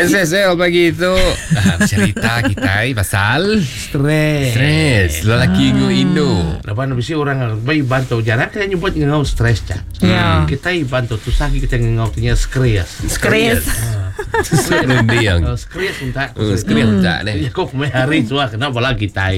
SSL pagi tu ah, Cerita kitai pasal Stres. Stres Lelaki ah. indu Laban bisi orang bayi bantu jarang kita nyebut ngau stres cak. Ya. Kita bantu tusah kita ngau tinya stres. Stres. Runding Stres untak. Stres untak ni. Ya kok mai hari suah kena bala kita.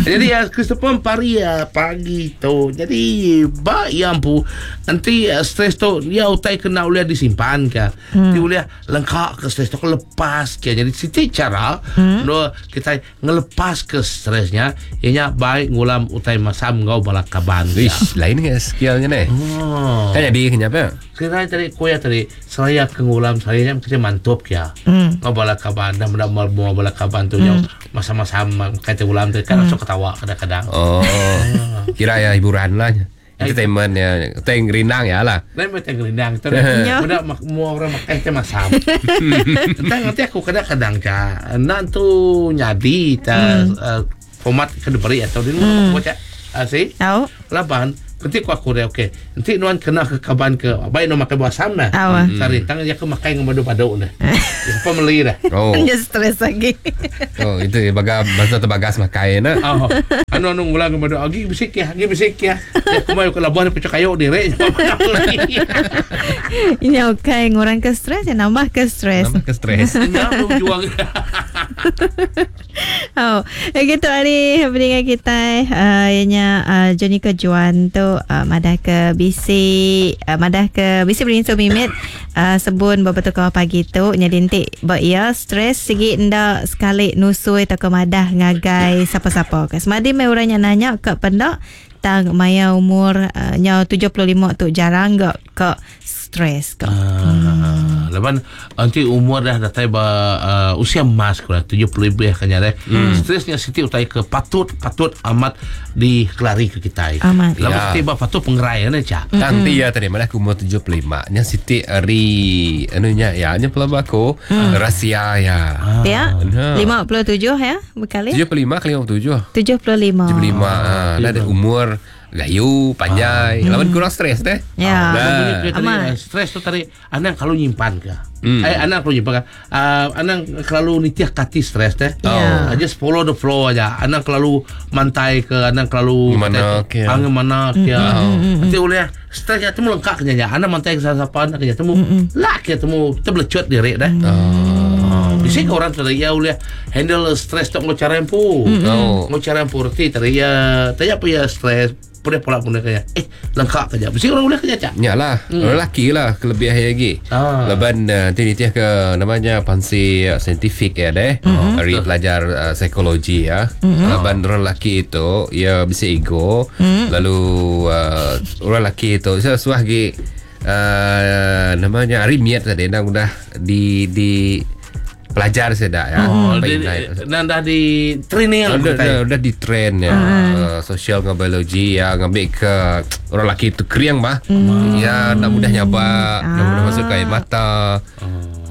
Jadi ya Christopher pari ya, pagi tu. Jadi ba ya ampu nanti stres tu ya utai kena ulih disimpan ke. Ti ulih lengkak ke stres tu ke lepas ke. Jadi siti cara no kita ngelepas ke stresnya ianya baik ngulam utai masam ngau bala kaban. Ish, lain ke skillnya ni. Oh. Kan jadi kenyapa? Kira tadi kuya tadi seraya ke ngulam seraya nya kita mantup kia. Ngau bala kaban dah meda mua bala kaban tu nyau masa-masa kata ulam tu kan langsung ketawa kadang-kadang. Oh. Kira ya hiburan lah. Entertainment ya. Teng rindang ya lah. Lain macam gerindang tu. Ya. Budak mak mua orang makan teh masam. Tentang nanti aku kadang-kadang ca nak tu nyadi ta format ke diberi atau di luar aku baca. Si Tahu? Laban Nanti aku aku dia okey. Nanti nuan kena ke kaban ke baik nuan makan buah asam dah. Awa. Sari tang dia ke makan dengan padu-padu dah. Dia apa meli dah. Oh. Dia stres lagi. Oh, itu ya baga bahasa terbagas makai nak. Oh, anu anu ngulang ke padu agi bisik ya, agi bisik ya. Ya aku mau ke labuan pecah kayu direk. Ini okey, ngurang ke stres, ya nambah ke stres. Nambah ke stres. Nya aku juang. Oh, gitu hari pendengar kita ianya Johnny Kejuan tu madah ke bisi madah ke bisi berinsu mimit sebun beberapa kau pagi tu nyadi entik ba ia stres segi ndak sekali nusui atau ke madah ngagai siapa-siapa ke. Semadi mai orang yang nanya ke pendak tang maya umur nya 75 tu jarang gak ke stres ke. Laban nanti umur dah datai ba usia emas kurang 70 lebih kan ya. Stresnya siti utai ke patut patut amat dikelari ke kita. Amat. Laban Ya. siti ba patut pengerai ne ca. Tang ti ya tadi malah aku umur 75. Nya siti ari anu nya ya nya pelaba aku rahsia ya. Ya. Nah. 57 ya berkali. 75 ke 57? 75. 75. Ah, dah ada umur gayu panjai. Lawan kurang stres deh. Ya. Nah. Tadi, Amat. stres tu tadi anang kalau nyimpan ke. Anang kalau nyimpan ke. Anang kalau nitiah kati stres teh. Ya. Just follow the flow aja. Anang kalau mantai ke, anang kalau Mana ke. Angin mana ke. Nanti oleh stres ya temu lengkap kenya. Anang mantai ke siapa anang kenya temu lah ke temu terbelecut diri dah. Oh. Di sini orang tadi ya oleh handle stres tu ngau cara empu. Oh. Ngau cara empu reti tadi ya tanya apa ya stres pun pola pun kaya. Lengkap kerja. Mesti orang boleh kerja cak. Ya lah, lelaki lah kelebihan lagi. Ah. Laban nanti nitiah ke namanya pansi saintifik ya deh. Hari pelajar psikologi ya. Laban orang lelaki itu ya bisa ego. Lalu orang lelaki itu saya suah lagi namanya hari miat tadi dah udah di di pelajar saya dah ya. Oh, Apa dia, inai. dah, dah di training lah Udah, kita. udah, udah di train ya sosial dengan biologi ya ngambil ke orang lelaki itu keriang mah ya nak mudah nyabak nak mudah masuk ke air mata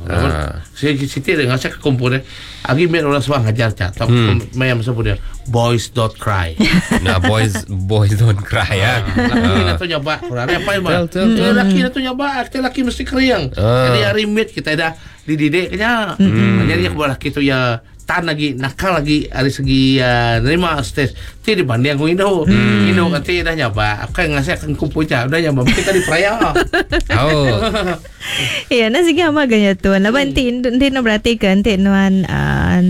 Ah. Saya Siti dengan saya kumpul dia. Agi miat orang suah ngajar cak. Tak mayam masa pun dia. Boys don't cry. nah boys boys don't cry ya Laki nak tu nyabak. Kurang apa yang Betul, betul, betul. Laki nak tu nyabak. Kita laki mesti keriang. Ah. Jadi hari miat kita dah dididik kenya. Jadi aku laki tu ya tan lagi nakal lagi dari segi nerima stres ti dibanding aku Indo Indo nanti dah nyabak aku yang ngasih akan kumpul cak dah nyabak mesti tadi peraya oh Ya, nak segi ama ganya tuan. Laban ti ti no berarti ke ti nuan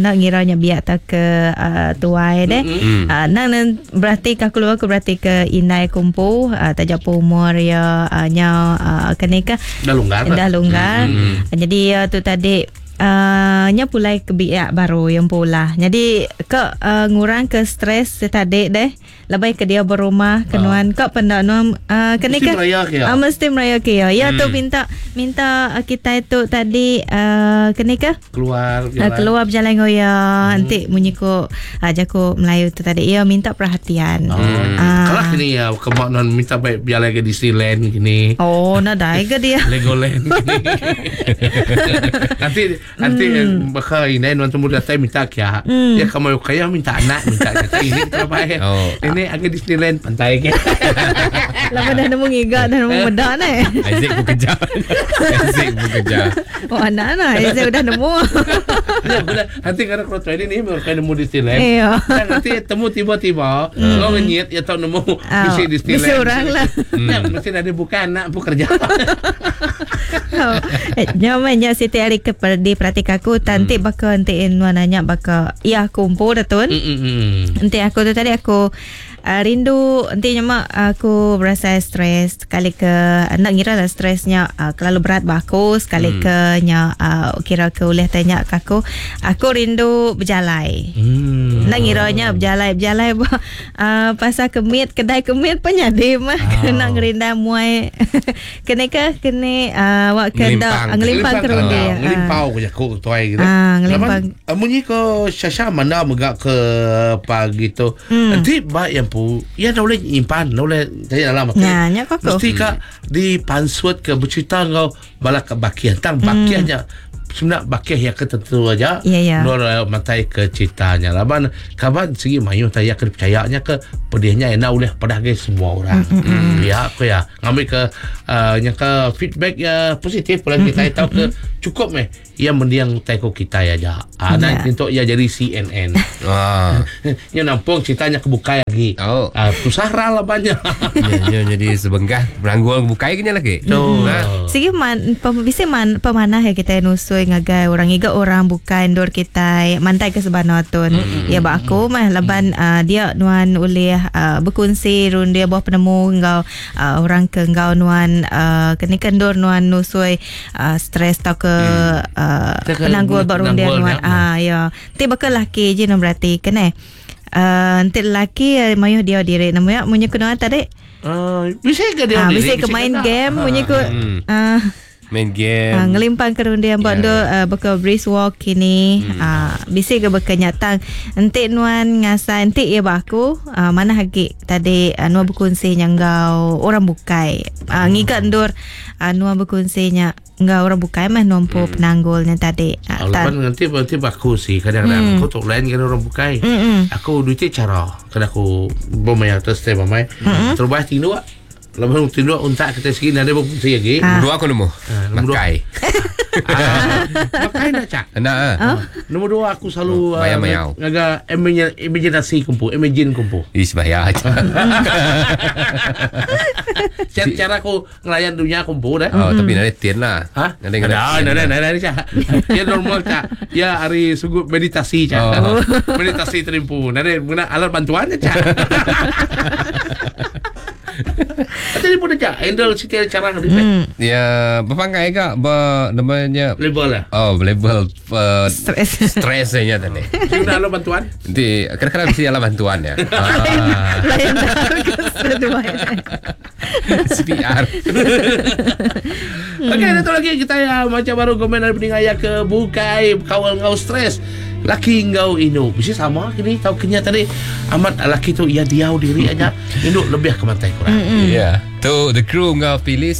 nak ngiranya biak tak ke tuai deh. Nak nak berarti ke aku aku berarti ke inai kumpu tak japo umur ya nya kene ke dah longgar dah longgar. Jadi tu tadi nya pulai ke biak baru yang pula. Jadi ke ngurang ke stres tadi deh. Lebih ke dia berumah ke nuan ke pendak nuan kene Mesti ke meraya ke ya? Mesti meraya ke ya. Ya tu minta minta kita itu tadi kene ke keluar keluar berjalan goya nanti munyi ko jago Melayu tu tadi ya minta perhatian. Kalau kini ya kemak non minta baik biar lagi Disneyland gini. Oh, nak dai ke dia? Legoland gini. Nanti Nanti baka ini nuan temu datai minta kia. Ya kamu kaya minta anak minta kata ini terbaik. Oh. Ini agak Disneyland pantai ke. Lama dah nemu ngiga dah nemu meda ni. Isaac pun kejar. Isaac pun kejar. Oh anak nak Isaac udah nemu. Ya, benar. Nanti karena kalau training ni mereka nemu Disneyland. Iya. Dan nanti temu tiba-tiba hmm. ngenyit ya tau nemu Ah, bisi Disneyland. bisi orang lah. Ya, mesti ada bukan anak pun kerja. Oh, eh, Nya mah nya siti hari ke di perhati aku tanti baka enti nuan nanya baka ya aku umpu dah tun. Hmm. Enti aku tu tadi aku rindu enti nya aku berasa stres sekali ke nak ngira lah stresnya terlalu berat ba aku sekali ke nya kira ke ulih tanya ke aku aku rindu berjalai. Nak ngiranya berjalai berjalai ba pasal kemit kedai kemit pun nyadi mah kena ngerinda muai kene ke kene awak ke Ngelimpang. dak ngelimpang ke rundi. Ah, Ngelimpau ke jaku tuai gitu. Ah, ngelimpang. Laban, munyi ke Syasha mana megak ke pagi tu. Nanti ba yang pu, ya dah boleh nyimpan, dah boleh tanya dalam hati. Nah, nya kok aku. Mesti ka dipansut ke bercerita ngau bala ke bakian. Tang bakiannya sebenarnya bakian yang ketentu aja. Ya, ya. Nur matai ke ceritanya. Laban kaban segi mayu taya ke percayanya ke pedihnya enak oleh pada ke semua orang. Ya aku ya ngambil ke yang ke feedback ya positif pula kita tahu ke cukup meh ia mendiang teko kita aja. Ah dan Ya. untuk ia jadi CNN. Ah. Yang nampung ceritanya kebuka lagi. Oh. Ah, susah lah banyak. Ya, ya, jadi sebenggah beranggul bukai kena lagi. Tu. Ha? Sigi man pem, bisa man pemanah ya kita nusui ngagai orang iga orang bukan dor kita mantai ke sebana tun. Ya ba aku mah laban dia nuan ulih berkongsi run dia buah penemu ngau orang ke ngau nuan kene kendor nuan nusui stres tau ke Kita ke penanggul ba run dia penanggul nuan. nya. Ah ya. Ti bakal laki je nom berarti kene. Nanti lelaki mayuh dia diri nama ya munyi kena tadi. Bisa ke dia Ah, diri? bisa ke main tak? game munyi ku ah Main game. Ah, ngelimpang ke rundian buat Ya, yeah, beka brisk walk kini. Bisi ke beka nyatang. Entik nuan ngasai entik ya baku mana hagi tadi nuan berkongsi nya enggau orang bukai. Ngiga ndur nuan berkongsi nya enggau orang bukai mah nuan pu penanggulnya tadi. Lepas nanti nanti baku sih kadang-kadang aku tok lain kan orang bukai. Mm-mm. Aku duit cara kadang aku bermain atas step bermain. Terus tinduk. Lepas tinduk untak kita sikit ada berfungsi lagi. Ah. Dua aku nemu. Ah, nombor dua. Makai. Ah, makai nak cak. Nak ah. Nombor dua aku selalu Oh, bayar mayau. ngaga imajinasi kumpu, imagine kumpu. Ish bahaya aja. Cara, cara aku ngelayan dunia kumpu dah. Oh, tapi nanti tien lah. Ha? Nanti Ada, kena ada, ada, ada, cak. Ya normal cak. Ya hari sungguh meditasi cak. Oh. Meditasi terimpu. Nanti guna alat bantuannya cak. Jadi pun cak handle setiap cara ngedipet. Ya, berpangkai kak, ber, namanya Label lah. Oh, level Stres. stresnya tadi. Guna alat bantuan. Nanti kadang-kadang mesti alat bantuan ya. Ah, Lain dah ke stres CPR. Okey, datang lagi kita ya macam baru komen dari pendengar ya ke bukai kawal ngau stres. Laki ngau inu. Mesti sama kini tahu kenya tadi amat laki tu ia diau diri aja. Induk lebih ke mantai kurang. Ya. Tu the crew ngau pilih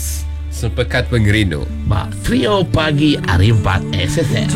sepekat pengerindu. Ba, trio pagi hari 4 SSL.